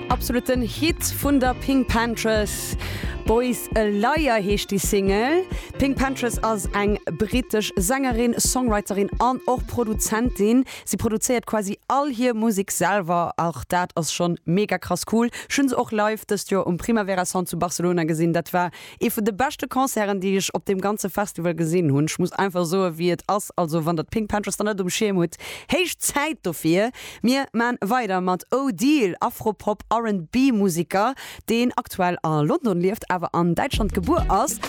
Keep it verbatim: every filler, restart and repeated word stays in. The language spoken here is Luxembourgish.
Absoluten Hit vun der PinkPantheress. Boy's a Liar heescht déi Single. PinkPantheress ass eng brittesch Sängerin, Songwriterin an och Produzentin. Si produzéiert quasi all hir Musek selwer, och dat ass schonn mega krass cool. Ech hunn se och live dëst Joer um Primavera Sound zu Barcelona gesinn. Dat war ee vun de beschte Concerten, déi ech op deem ganze Festival gesinn hunn. Ech muss einfach soen, wéi et ass. Also wann der PinkPantheress nach net um Schierm hutt, héich Zäit dofir. Mir maache weider mat Odeal, Afropop R and B Museker, deen aktuell a London lieft, awer an Däitschland gebuer ass.